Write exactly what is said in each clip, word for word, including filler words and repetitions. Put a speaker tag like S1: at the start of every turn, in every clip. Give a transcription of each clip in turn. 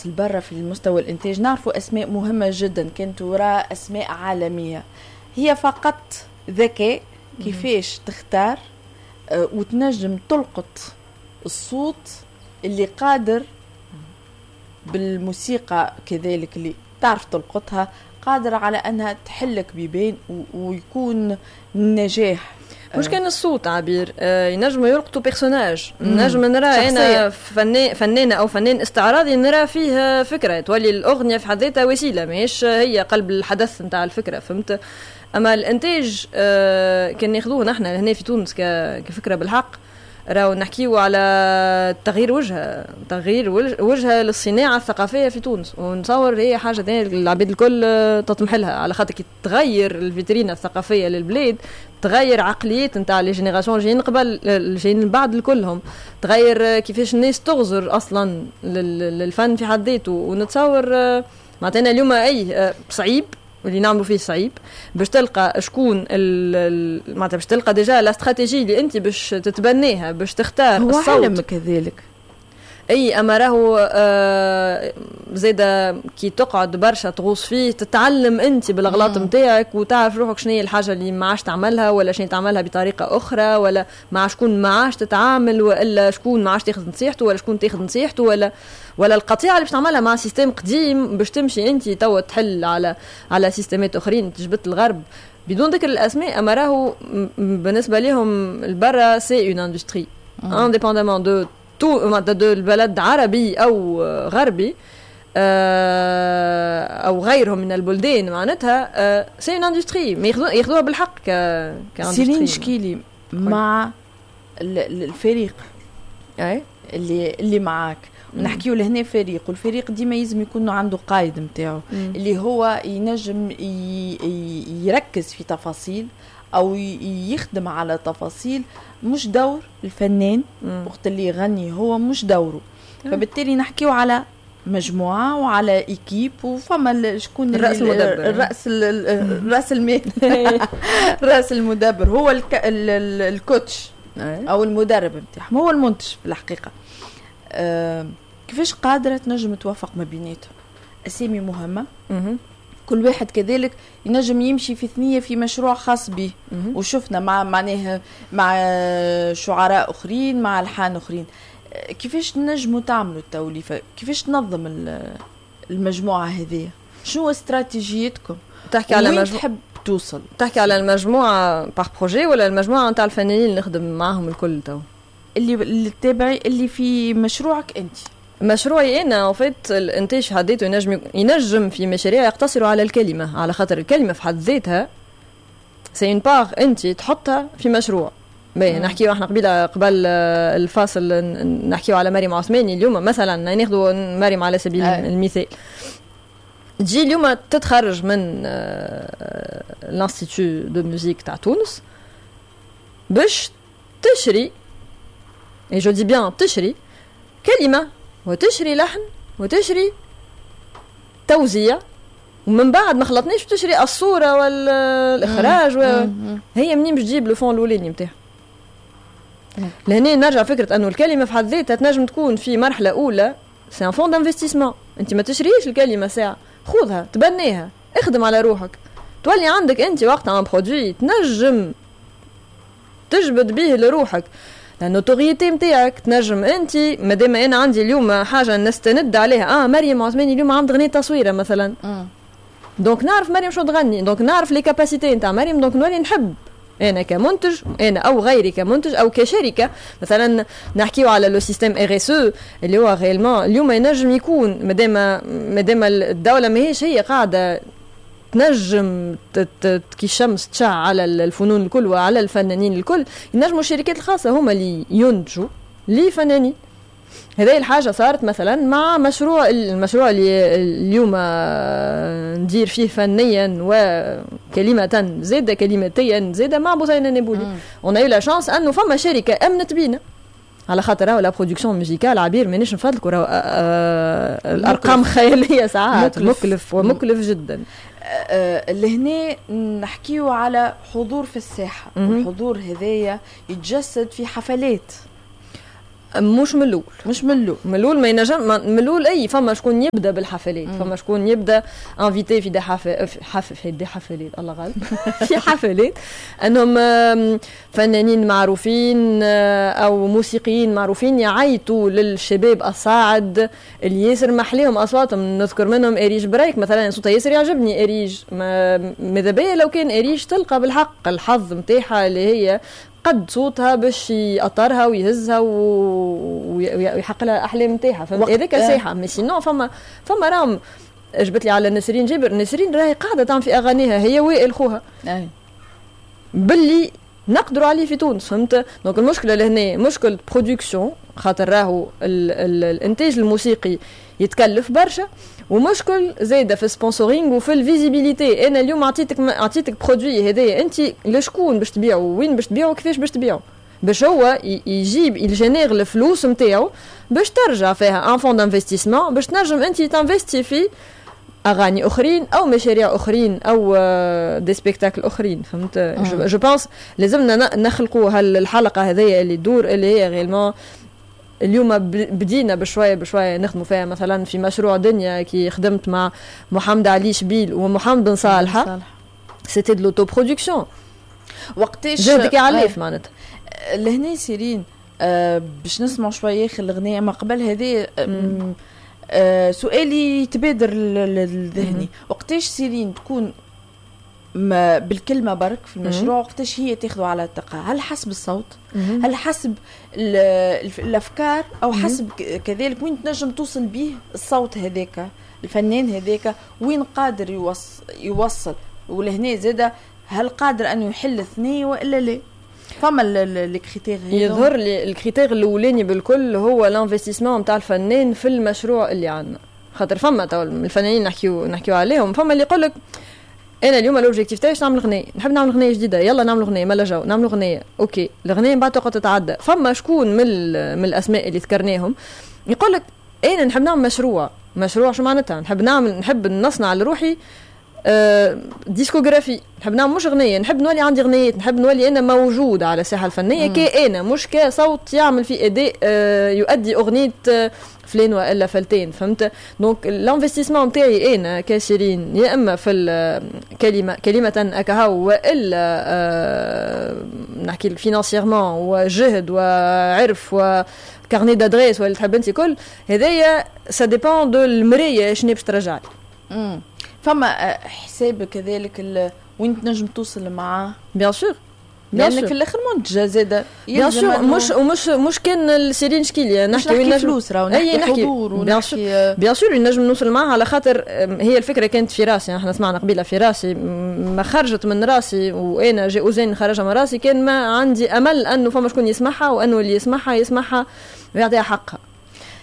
S1: تونس البرة في المستوى الانتاج نعرفوا اسماء مهمة جدا كانت وراء اسماء عالميه، هي فقط ذكاء كيفاش تختار آه، وتنجم تلقط الصوت اللي قادر بالموسيقى كذلك اللي تعرف تلقطها، قادر على انها تحلك بيبان ويكون نجاح.
S2: مش كان الصوت عبير، آه ينجموا يلقطوا personnage. نجم نرى انا فنان، فنانة او فنان استعراضي نرى فيه فكره، تولي الاغنية في حد ذاتها وسيله، ماهيش هي قلب الحدث نتاع الفكره، فهمت؟ اما الانتاج آه كان ناخذوه نحن هنا في تونس كفكرة بالحق، راهو نحكيو على تغيير وجهه، تغيير وجهه للصناعة الثقافية في تونس، ونتصور هي حاجة ثانية العباد الكل تطمح لها، على خاطر كي تغير الفيترينا الثقافية للبلاد تغير عقليات نتاع les générations جايين قبل، جايين بعد، الكلهم تغير كيفاش الناس تغزر اصلا للفن في حد ذاته. ونتصور معناتها اليوم اي صعيب واللي نعملوا فيه صعيب باش تلقى شكون، معناتها باش تلقى déjà la stratégie اللي انت باش تتبناها باش تختار.
S1: هو الصوت علم كذلك.
S2: اي، اما راهو آه زاده كي تقعد برشا تغوص فيه تتعلم انت بالاغلاط نتاعك وتعرف روحك شنو هي الحاجة اللي ما عادش تعملها ولا شنو تعملها بطريقة اخرى، ولا مع شكون ما عادش تتعامل، والا شكون ما عادش تاخذ نصيحته، ولا شكون تاخذ نصيحته، ولا ولا القطيعة اللي باش تعملها مع système قديم باش تمشي انت توا تحل على على سيستمات اخرين. تجبد الغرب بدون ذكر الاسماء، اما راهو بالنسبة لهم البرا c'est une industrie indépendamment de tout de البلد عربي او غربي آه، او غيرهم من البلدان، معناتها c'est une industrie ياخذوها بالحق. ك
S1: سيرين شكيلي، مع الفريق
S2: اي
S1: اللي اللي معاك، نحكيو لهنا فريق، والفريق ديما يلزم يكون عنده قائد نتاعو اللي هو ينجم يركز في تفاصيل او يخدم على تفاصيل مش دور الفنان. وقت اللي يغني هو مش دوره. فبالتالي نحكيو على مجموعة وعلى équipe، وفما شكون؟
S2: الراس المدبر.
S1: الراس، الراس المال، الراس المدبر هو الك... ال coach او المدرب نتاعهم، هو المنتج في الحقيقه. أه كيفاش قادرة تنجم توافق ما بيناتهم؟ اسامي مهمه، كل واحد كذلك ينجم يمشي في ثنيه في مشروع خاص به، وشفنا مع معناه مع شعراء اخرين، مع الحان اخرين. كيفاش تنجموا تعملوا التوليفه؟ كيفاش تنظم المجموعة هذه؟ شنو استراتيجيتكم؟
S2: تحكي على
S1: مجموعة تحب توصل؟
S2: تحكي على المجموعة par projet ولا المجموعة نتاع الفنانين اللي نخدم معاهم الكل تو؟
S1: اللي اللي تابعي، اللي في مشروعك انت.
S2: مشروعي انا، en fait الانتاج في حد ذاته ينجم ينجم في مشاريع يقتصروا على الكلمه، على خاطر الكلمة في حد ذاتها c'est une part انت تحطها في مشروع. باهي، نحكيو احنا قبيلة قبل الفاصل نحكيو على مريم عثماني. اليوم مثلا ناخذ مريم على سبيل أي. المثال، تجي اليوم تتخرج من l'institut de musique تاع تونس باش تشري، et je dis bien تشري كلمة وتشري لحن وتشري توزيع، ومن بعد ما خلطنيش تشري الصورة والاخراج و... هي منين باش تجيب le fonds الاولاني نتاعها؟ لهنا نرجع فكرة انه الكلمة في حد ذاتها تنجم تكون في مرحلة اولى c'est un fonds d'investissement. انت ما تشريش الكلمة ساعه، خذها تبنيها، اخدم على روحك، تولي عندك انت وقتها un produit تنجم تجبد به لروحك la notoriété نتاعك. تنجم انت مادام انا عندي اليوم حاجة نستند عليها، اه مريم عثماني اليوم عم تغني تصويره مثلا، donc نعرف مريم شو تغني، donc نعرف les capacités نتاع مريم، donc نولي نحب انا كمنتج، انا او غيري كمنتج او كشركه. مثلا نحكيو على le système RSE اللي هو réellement اليوم ينجم يكون، مادام مادام الدولة ماهيش هي قاعدة تنجم كي الشمس تشع على الفنون الكل وعلى الفنانين الكل، ينجموا الشركات الخاصة هما اللي ينتجوا لفنانين. هذه الحاجة صارت مثلا مع مشروع، المشروع اللي اليوم ندير فيه فنيا وكلمة زادة، كلمتيا زادة، مع بثينة النابولي. on a eu la chance انه فما شركة امنت بينا، على خاطر راهو la production musicale عبير مانيش نفضلك، راهو آه، الارقام خيالية ساعات، مكلف, مكلف ومكلف جدا.
S1: آه، لهنا نحكيو على حضور في الساحه، الحضور هذايا يتجسد في حفلات.
S2: مش من الاول.
S1: مش من الاول.
S2: من الاول ما ينجم، من الاول اي فما شكون يبدا بالحفلات، فما شكون يبدا invité في des حف في des حفلات، الله غالب، في حفلات انهم فنانين معروفين او موسيقيين معروفين يعيطوا للشباب الصاعد اللي ياسر محليهم اصواتهم. نذكر منهم اريج برايك مثلا، صوتها ياسر يعجبني اريج. ماذا بيا لو كان اريج تلقى بالحق الحظ نتاعها اللي هي قد صوتها باش يأطرها ويهزها ويحقق لها الاحلام نتاعها، فهمت؟ هذاك ساحة. mais sinon فما فما راهم جبت لي على نسرين جابر، نسرين راهي قاعدة تعمل في اغانيها هي وائل خوها باللي نقدروا عليه في تونس، فهمت؟ donc المشكلة لهنا مشكل production، خاطر راهو ال ال الانتاج الموسيقي يتكلف برشا، ومشكل زايدة في ال sponsoring وفي ال visibilité. انا اليوم عطيتك عطيتك produit هذايا، انت لشكون باش تبيعه؟ وين باش تبيعه؟ كيفاش باش تبيعه؟ باش هو يجيب il génère الفلوس نتاعو باش ترجع فيها un fonds d'investissement باش تنجم انت ت investi في اغاني اخرين او مشاريع اخرين او des spectacles اخرين، فهمت؟ je pense لازمنا نخلقوا هالحلقة هذيا اللي تدور، اللي هي réellement اليوم بدينا بشوية بشوية نخدموا فيها. مثلا في مشروع دنيا كي خدمت مع محمد علي شبيل ومحمد بن صالحه، c'était de l'autoproduction.
S1: وقتاش
S2: جهدك يعليف معناتها.
S1: لهنا سيرين آه باش نسمع شوية اخر الاغنيه، ما قبل هذه آه آه سؤالي يتبادر لذهني، وقتاش سيرين تكون ما بالكلمة برك في المشروع، وقتاش هي تاخذه على عاتقها؟ هل حسب الصوت؟ هل حسب الافكار؟ او حسب كذلك وين تنجم توصل به الصوت هذاك، الفنان هذاك وين قادر يوصل يوصل ولهنا زاده هل قادر انه يحل ثنية والا لا؟ فما les critères؟
S2: يظهر لي ال critère الاولاني بالكل هو l'investissement نتاع الفنان في المشروع اللي عندنا، خاطر فما تو الفنانين نحكيو نحكيو عليهم، فما اللي يقول لك انا اليوم l'objectif تاعي نعمل غنية، نحب نعمل غنية جديده، يلا نعمل غنية، مالا جو نعمل غنية، OK الغنية من بعد تقعد تتعدى. فما شكون من من الاسماء اللي ذكرناهم يقول لك انا نحب نعمل مشروع. مشروع شو معناتها؟ نحب نعمل، نحب نصنع لروحي آه، discographie، نحب نعمل مش غنية، نحب نولي عندي غنيات، نحب نولي انا موجود على الساحة الفنية كأنا مش كصوت يعمل في اداء آه، يؤدي اغنية آه، فلان والا فلتين، فهمت؟ donc l'investissement نتاعي انا كسيرين يا اما في الكلمة كلمة اكاهو والا آه نحكي لك financièrement وجهد وعرف و carnet d'adresses ولا تحب انت كل هذايا، ça dépend de المراية شنو باش ترجع
S1: لي. فما حساب كذلك وين تنجم توصل معاه؟
S2: bien sûr.
S1: لانك في الاخر منتجه زاده.
S2: bien sûr، مش ومش مش كان السيرين شكيلي.
S1: نحكي وين فلوس، راهو نحكي حضور
S2: ونحكي. bien sûr نجم نوصل معها، على خاطر هي الفكرة كانت في راسي، احنا سمعنا قبيلة في راسي، ما خرجت من راسي وانا j'ai osé نخرجها من راسي كان ما عندي امل انه فما شكون يسمعها، وانه اللي يسمعها يسمعها ويعطيها حقها.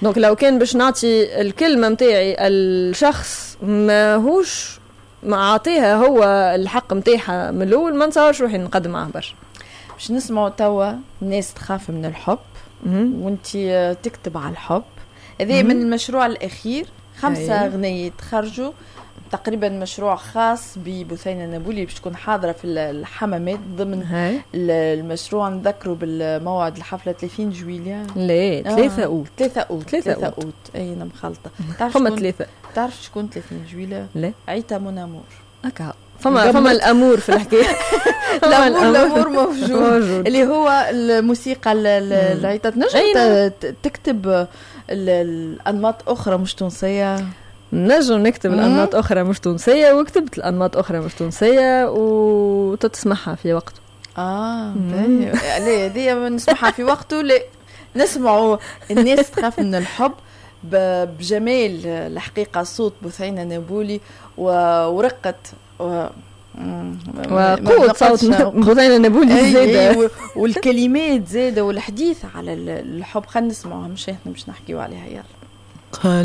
S2: donc لو كان باش نعطي الكلمة نتاعي الشخص ماهوش ما عاطيها هو الحق نتاعها من الاول، ما نتصورش روحي نقدم معاه برشا.
S1: باش نسمعوا توا الناس تخاف من الحب، وانت تكتب على الحب. هذا من المشروع الاخير، خمسة أغنية خرجوا تقريبا، مشروع خاص ببثينة النابولي باش تكون حاضرة في الحمامات ضمن هاي. المشروع. نذكروا بالموعد، الحفلة ثلاثين جويليا.
S2: لا، ثلاثة أوت.
S1: ثلاثة أوت. ثلاثة أوت، أي أنا مخلطة.
S2: تعرف فما ثلاثة.
S1: تعرف شكون ثلاثين جويليا؟
S2: لا.
S1: عيتا mon amour.
S2: هكا فما فما l'amour في الحكاية.
S1: l'amour l'amour موجود، موجود. اللي هو الموسيقى العيطة. تنجم تكتب الانماط اخرى مش تونسيه؟
S2: نجم نكتب الانماط اخرى مش تونسيه، وكتبت الانماط اخرى مش تونسية وتتسمعها في وقته.
S1: اه لا، هذه نسمعها في وقته. لا، نسمعوا الناس تخاف من الحب بجمال الحقيقة صوت بثينة نابولي ورقة و
S2: وقوة صوت بثينة نابولي
S1: زادة. والكلمات زادة والحديث على الحب، خلينا نسمعوها، مش احنا مش نحكيو عليها، يلا.